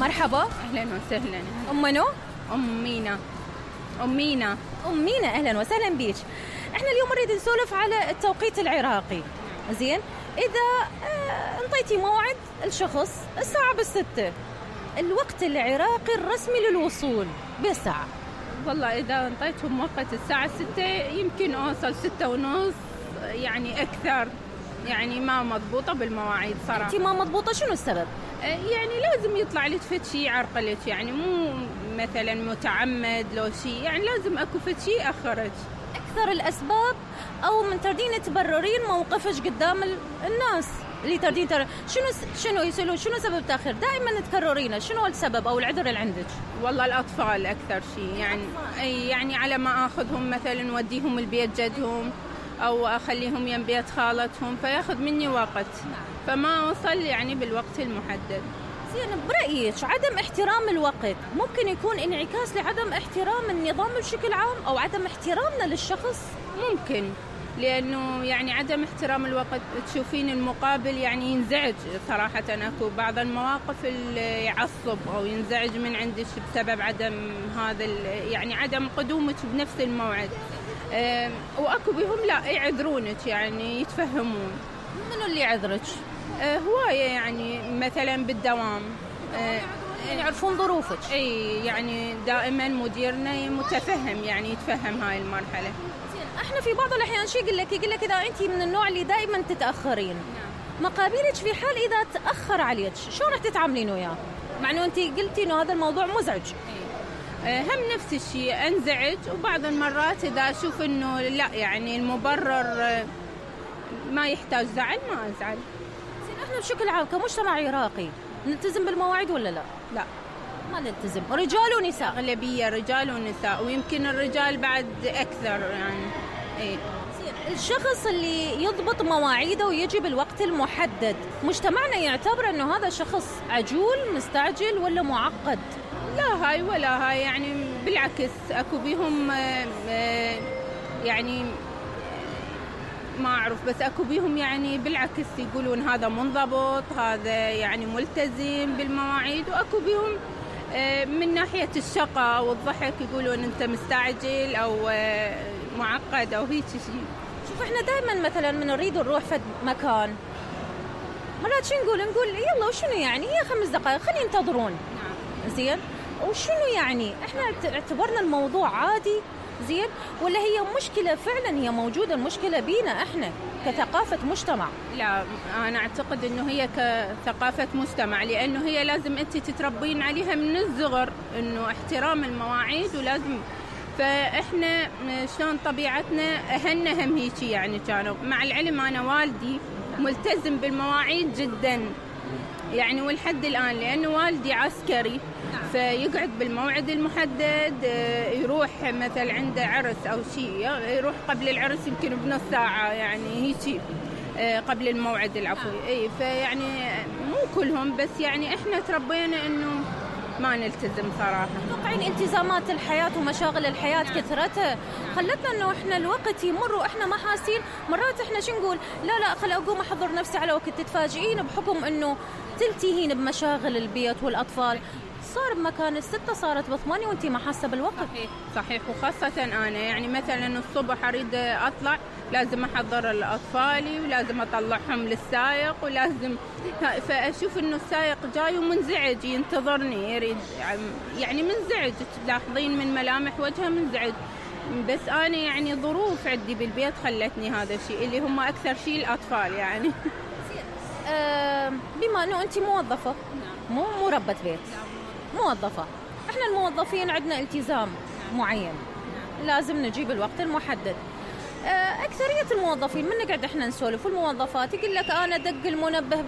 مرحبا. أهلا وسهلا. أم منو؟ أم مينا. أم مينا، أهلا وسهلا بيك. احنا اليوم نريد نسولف على التوقيت العراقي. زين، إذا انطيتي موعد الشخص الساعة 6، الوقت العراقي الرسمي للوصول بساعة. والله إذا انطيتهم وقت الساعة 6 يمكن أوصل 6:30، يعني أكثر. يعني ما مضبوطة بالمواعيد صراحة. أنت ما مضبوطة، شنو السبب؟ يعني لازم يطلع لك فد شي يعرقلك، يعني مو مثلا متعمد لو شي، يعني لازم أكو فد شي أخرج. أكثر الأسباب أو من تردين تبررين موقفش قدام الناس اللي تردين شنو يسألون شنو سبب تأخير؟ دائما تكررينه، شنو السبب أو العذر اللي عندك؟ والله الأطفال أكثر شي، يعني على ما أخذهم مثلا وديهم البيت جدهم أو أخليهم يم بيت خالتهم فياخذ مني وقت، فما أوصل يعني بالوقت المحدد. زين، برأيك عدم احترام الوقت ممكن يكون انعكاس لعدم احترام النظام بشكل عام أو عدم احترامنا للشخص؟ ممكن، لأنه يعني عدم احترام الوقت تشوفين المقابل يعني ينزعج صراحة. أكو بعض المواقف اللي يعصب أو ينزعج من عندك بسبب عدم هذا يعني عدم قدومك بنفس الموعد. وأكو بهم لا يعذرونك، يعني يتفهمون. منو اللي يعذرك؟ هواية، يعني مثلا بالدوام يعني يعرفون ظروفك. اي يعني دائما مديرنا متفهم، يعني يتفهم هاي المرحلة. احنا في بعض الأحيان شي يقول لك إذا أنت من النوع اللي دائما تتأخرين، مقابلك في حال إذا تأخر عليك شو راح تتعاملين وياه؟ مع إنه أنت قلتي إنه هذا الموضوع مزعج. هم نفس الشيء أنزعج، وبعض المرات إذا أشوف إنه لا يعني المبرر ما يحتاج زعل ما أزعل. احنا بشكل عام كمجتمع عراقي نلتزم بالمواعيد ولا لا؟ لا، ما نلتزم، رجال ونساء. أغلبية رجال ونساء، ويمكن الرجال بعد أكثر يعني. إيه. الشخص اللي يضبط مواعيده ويجي بالوقت المحدد، مجتمعنا يعتبر انه هذا شخص عجول مستعجل ولا معقد؟ لا هاي ولا هاي، يعني بالعكس أكو بيهم يعني ما أعرف، بس أكو بيهم يعني بالعكس يقولون هذا منضبط، هذا يعني ملتزم بالمواعيد. وأكو بيهم من ناحية الشقة والضحك يقولون أنت مستعجل أو معقد أو هيك شيء. شوف، احنا دائما مثلا من نريد نروح في مكان، مرات شو نقول يلا وشنو يعني هي 5 دقائق خلينا ينتظرون. زين، وشنو يعني احنا اعتبرنا الموضوع عادي؟ زين، ولا هي مشكلة فعلا هي موجودة، المشكلة بينا احنا كثقافة مجتمع؟ لا، أنا أعتقد إنه هي كثقافة مجتمع، لأنه هي لازم أنت تتربين عليها من الصغر إنه احترام المواعيد، ولازم فإحنا شلون طبيعتنا أهلنا هم هيك يعني كانوا. مع العلم أنا والدي ملتزم بالمواعيد جدا يعني، والحد الآن لأنه والدي عسكري فيقعد بالموعد المحدد. يروح مثل عنده عرس أو شيء يروح قبل العرس يمكن بنص ساعة، يعني هيك قبل الموعد العفوي. اي فيعني مو كلهم، بس يعني احنا تربينا انه ما نلتزم صراحة. توقعين التزامات الحياة ومشاغل الحياة كثرتها خلتنا انه احنا الوقت يمر واحنا ما حاسين. مرات احنا شو نقول، لا خل اقوم احضر نفسي على وقت، تتفاجئين بحكم انه تلتهين بمشاغل البيت والاطفال، صار بمكان 6 صارت ب8 وانتي ما حاسة بالوقت. صحيح. وخاصة أنا يعني مثلا الصبح أريد أطلع لازم أحضر لأطفالي ولازم أطلعهم للسائق ولازم، فأشوف إنه السائق جاي ومنزعج ينتظرني يريد، يعني منزعج، تلاحظين من ملامح وجهه منزعج. بس أنا يعني ظروف عندي بالبيت خلتني هذا الشيء، اللي هم أكثر شيء الأطفال يعني. بما أنه أنت موظفة، مو ربة بيت، موظفة، احنا الموظفين عندنا التزام معين، لازم نجيب الوقت المحدد. أكثرية الموظفين من نقعد احنا نسولف والموظفات يقول لك أنا دق المنبه